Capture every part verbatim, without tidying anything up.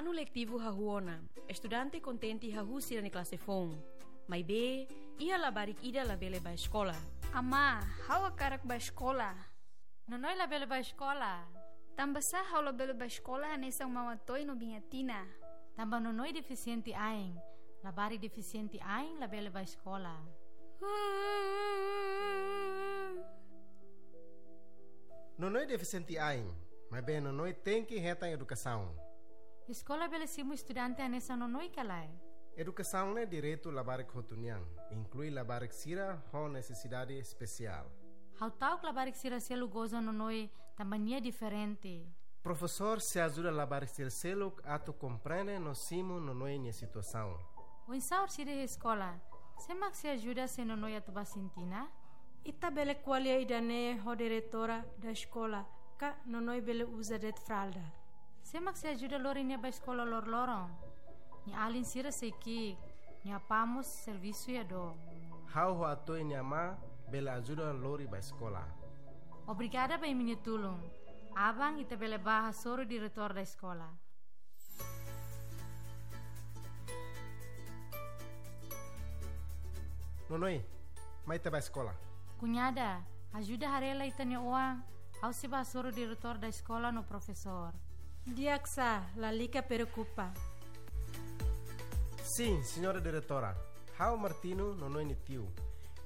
Anu letivu hahú ona, estudante kontente hahú sira-nia klase foun. Maibé, iha labarik ida labele bá eskola. Amá, ha'u hakarak bá eskola. Nonoi labele bá eskola. Tanbasá ha'u labele bá eskola hanesan Maun Atoy no Biin Atina? Tanba Nonoi defisiente ain. Labarik defisiente ain labele bá eskola. Nonoi defisiente ain, maibé Nonoi tenke hetan edukasaun. Eskola bele simu estudante hanesan Nonoi ka lae? Edukasaun ne'e direitu labarik hotu nian, inklui labarik sira ho nesesidade espesiál. Ha'u ta'uk labarik sira seluk goza Nonoi tanba nia diferente. Profesór sei ajuda labarik sira seluk atu komprende no simu Nonoi nia situasaun. Oinsá orsida iha eskola? Sé mak sei ajuda se Nonoi atu bá sintina? Ita bele ko'alia ida-ne'e ho diretora da eskola, ka Nonoi bele uza de'it fralda. Sé mak sei ajuda lori nia bá eskola loroloron? Nia alin sira sei ki'ik, nia apá mós servisu iha dook. Ha'u ho Atoy nia amá bele ajuda lori bá eskola. Obrigada ba imi-nia tulun. Aban ita bele bá hasoru diretór da eskola. Nonoi, mai ita bá eskola. Kuñada, ajuda haree lai ita-nia oan, ha'u sei bá hasoru diretór da eskola no profesór. Di'ak sá, lalika preokupa. Sin, señora diretora. Ha'u Martino, Nonoi nia tiu.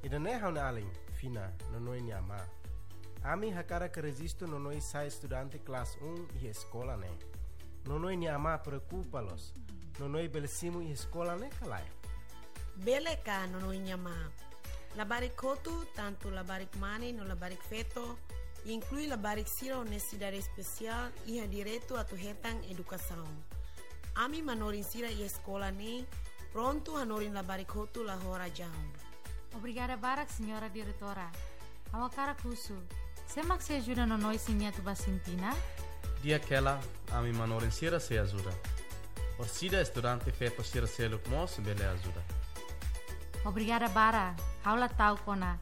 Ida-ne'e ha'u-nia alin, Fina, Nonoi nia amá. Ami hakarak rejistu Nonoi sai estudante klase un iha eskola ne'e. Nonoi nia amá preokupa loos. Nonoi bele simu iha eskola ne'e ka lae? Bele ka, Nonoi nia amá. Labarik hotu, tantu labarik mane no labarik feto, inklui labarik sira ho nesesidade espesiál, iha direitu atu hetan edukasaun. Ami manorin sira iha eskola ne'e prontu hanorin labarik hotu la ho razaun. Obrigada barak, señora diretora. Ha'u hakarak husu, sé mak sei ajuda Nonoi se nia atu bá sintina? Di'ak hela, ami manorin sira sei ajuda. Orsida estudante feto sira seluk mós bele ajuda. Obrigada barak, ha'u la ta'uk ona.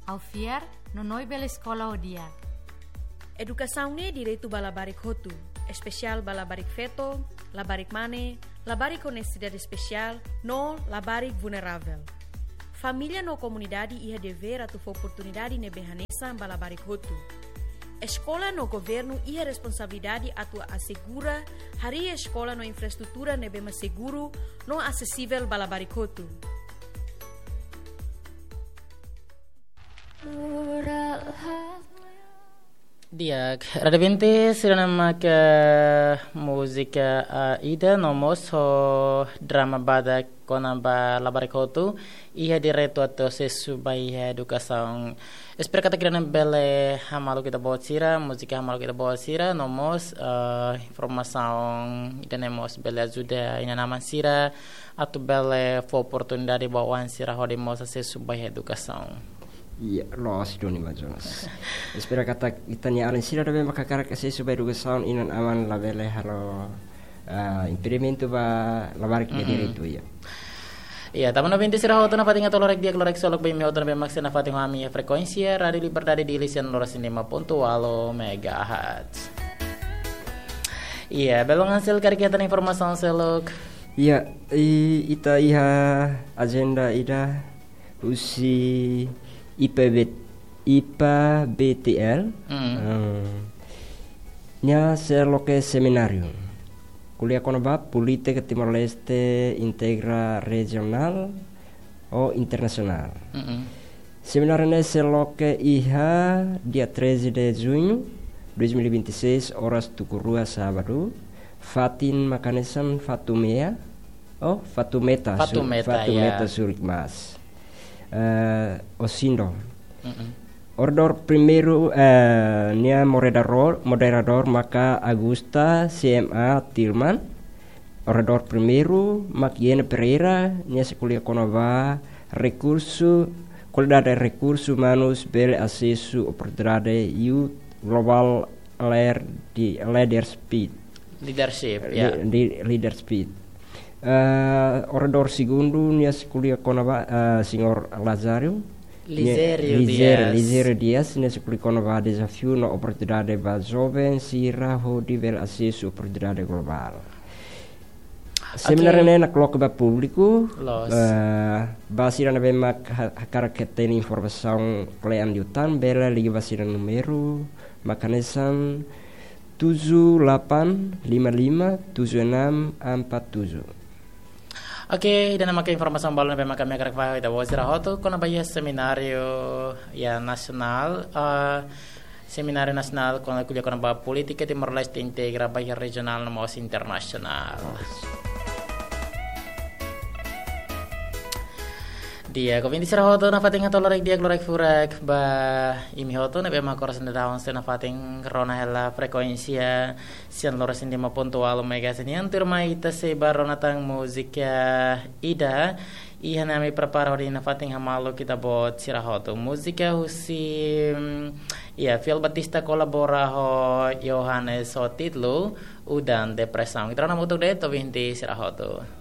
Ha'u fiar, Nonoi bele eskola ho di'ak. Edukasaun ne'e direitu ba labarik hotu, espesiál ba labarik feto, labarik mane, labarik ho nesesidade espesiál, no labarik vulneravel. Família no komunidade iha devér atu fó oportunidade ne'ebé hanesan ba labarik hotu. Eskola no governu iha responsabilidade atu asegura harii eskola no infraestrutura ne'ebé mak seguru no asesivel ba labarik hotu. Di'ak, Rádio Vinte, sira-ne'e mak múzika, ah, ida no mós ho drama badak kona-ba labarik hotu, iha direitu atu asesu ba iha edukasaun. Espera katak ida-ne'e bele hamaluk ita-boot sira, múzika hamaluk ita-boot sira, no mós, eh, informasaun ida-ne'e mós bele ajuda inan-aman sira, atu bele fó oportunidade ba oan sira hodi mós asesu ba iha edukasaun. Iya, loos duni, Maun Jonas. Espera katak ita-nia alin sira ne'ebé mak hakarak asesu ba edukasaun, inan-aman labele halo, ah, impedimentu ba labarik nia direitu, iya. Iya, tanba ouvinte sira hotu nafatin atu lorokraik di'ak, lorokraik solok ba imi hotu ne'ebé mak sei nafatin ho ami iha frekuénsia Rádio Liberdade Dili sian loro sin lima pontu walu megahertz. Iya, belum hasil kari kita informasaun seluk. Iya, i-, ita iha ajenda ida husi I P B, I P B T L. Hmm. Hmm. Nia sei loke semináriu. Ko'alia kona-ba polítika Timor-Leste integra rejionál ou internasionál. Mm-mm. Semináriu ne'e sei loke iha dia treze de junho dois mil e vinte e seis, oras tuku rua sábadu, fatin mak hanesan Fatumea, oh, Fatumeta, Su-, Fatumeta, Fatumeta, ya. Surik Mas. Eh, Osindo. Mm-mm. Oradór primeiru, eh, nia moderadór, moderadór maka Augusta C M A Tilman. Oradór primeiru mak Yene Pereira, nia sei ko'alia kona-ba rekursu, kualidade rekursu umanus bele asesu oportunidade youth global leader di, leadership. Leadership, ya. Li-, di leadership. Eh, oradór segundu, nia sei ko'alia kona-ba, eh, señór Lazário. Nia, Lizério Lizério, Dias. Lizério Dias, nia sei ko'alia kona-ba dezafiu no oportunidade ba joven sira hodi bele asesu oportunidade global. Semináriu ne'e nakloke ba públiku. Loos. Eh, ba sira ne'ebé mak ha-, hakarak hatene informasaun kle'an liután, bele liga ba sira númeru mak hanesan tujuh delapan lima lima tujuh enam empat tujuh. Oke, ida-ne'e maka informasaun balun ne'ebé mak ami hakarak fahe ba ita-boot sira hotu kona-ba iha semináriu, ya, nasionál, eh, Semináriu Nasionál kona-, ko'alia kona-ba polítika Timor-Leste integra ba iha rejionál no mós internasionál. Di'ak, ouvinte sira hotu, nafatin hato'o lorokraik di'ak, lorokraik furak ba imi hotu ne'ebé mak oras ne'e daudaun sei nafatin rona hela frekuénsia sianlurus neen lima pontu ualu megahertz nian. Tuirmai ita sei bá rona tan múzika ida, iha ne'e ami prepara hodi nafatin hamaluk ita-boot sira hotu. Múzika husi, mm, ya, Fiel Batista kolabora ho Yohanes ho títulu Udan Depresaun. Ita rona hamutuk de'it, ouvinte sira hotu.